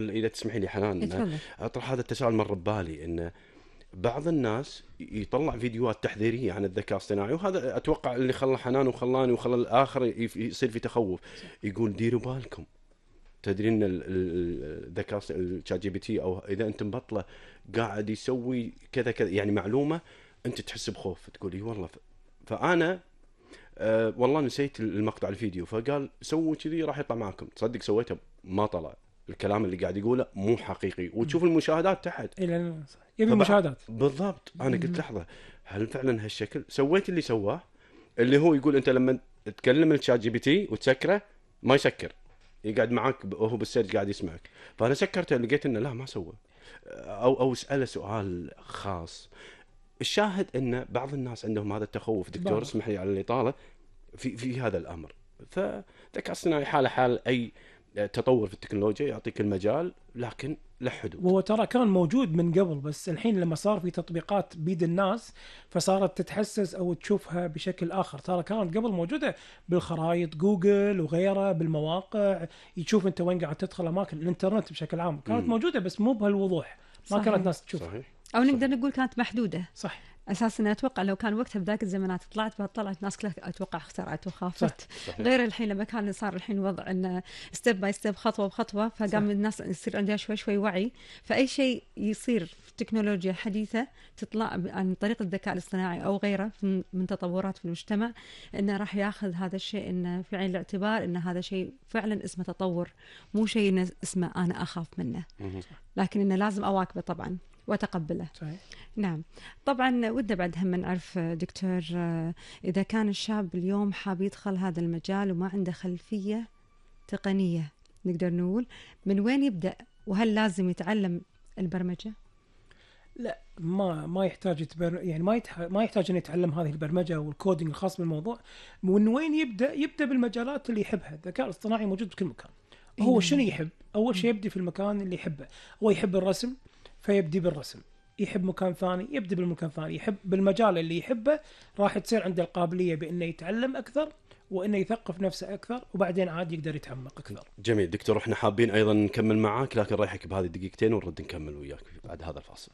إذا تسمحي لي حنان، اتفضل. أطرح هذا التساؤل مر ببالي، إن بعض الناس يطلع فيديوهات تحذيرية عن الذكاء الاصطناعي، وهذا أتوقع اللي خلى حنان وخلاني وخلى الآخر يصير في تخوف. يقول ديروا بالكم، تدرين ان الذكاء الشات جي بي تي او اذا انت مبطله قاعد يسوي كذا كذا، يعني معلومه انت تحس بخوف، تقول اي والله. فانا والله نسيت المقطع الفيديو، فقال سووا كذي راح يطلع معكم. تصدق سويته ما طلع، الكلام اللي قاعد يقوله مو حقيقي، وتشوف المشاهدات تحت. يبي مشاهدات بالضبط. انا قلت لحظه، هل فعلا هالشكل؟ سويت اللي سواه، اللي هو يقول انت لما تكلم الشات جي بي تي وتسكره ما يسكر، يقعد معك وهو بالسيرج قاعد يسمعك. فانا سكرته، لقيت انه لا ما سوى، او اساله سؤال خاص. الشاهد ان بعض الناس عندهم هذا التخوف. دكتور اسمح لي على الاطاله في هذا الامر. فالذكاء الصناعي حاله حال اي تطور في التكنولوجيا، يعطيك المجال لكن له حدود. وهو ترى كان موجود من قبل، بس الحين لما صار في تطبيقات بيد الناس فصارت تتحسس او تشوفها بشكل اخر. ترى كانت قبل موجوده بالخرائط جوجل وغيرها، بالمواقع يشوف انت وين قاعد تدخل، اماكن الانترنت بشكل عام كانت موجوده بس مو بهالوضوح، ما صحيح. كانت الناس تشوفها. صحيح. او نقدر نقول كانت محدوده. صح. اساسا اتوقع لو كان وقتها بذاك الزمانات طلعت الناس كلها اتوقع اخترعت وخافت. صحيح. غير الحين لما كان صار الحين وضع ان ستيب باي ستيب، خطوه بخطوه، فقام الناس يصير عندها شوي وعي. فاي شيء يصير في تكنولوجيا حديثه تطلع عن طريق الذكاء الاصطناعي او غيره من تطورات في المجتمع، انه راح ياخذ هذا الشيء انه في عين الاعتبار، ان هذا شيء فعلا اسمه تطور، مو شيء اسمه انا اخاف منه، لكن انه لازم اواكبه طبعا وتقبله. صحيح. نعم. طبعا ودنا بعد هم نعرف دكتور، إذا كان الشاب اليوم حاب يدخل هذا المجال وما عنده خلفية تقنية، نقدر نقول من وين يبدأ؟ وهل لازم يتعلم البرمجة؟ لا، ما يحتاج يعني ما يحتاج أن يتعلم هذه البرمجة والكودينج الخاص بالموضوع. من وين يبدأ بالمجالات اللي يحبها. الذكاء الاصطناعي موجود بكل مكان. هو شنو يحب؟ أول شيء يبدأ في المكان اللي يحبه. هو يحب الرسم فيبدي بالرسم، يحب مكان ثاني يبدأ بالمكان ثاني، يحب بالمجال اللي يحبه راح تصير عنده القابلية بأنه يتعلم أكثر وأنه يثقف نفسه أكثر، وبعدين عاد يقدر يتعمق أكثر. جميل دكتور، احنا حابين أيضا نكمل معاك، لكن رايحك بهذه الدقيقتين ونرد نكمل وياك بعد هذا الفاصل.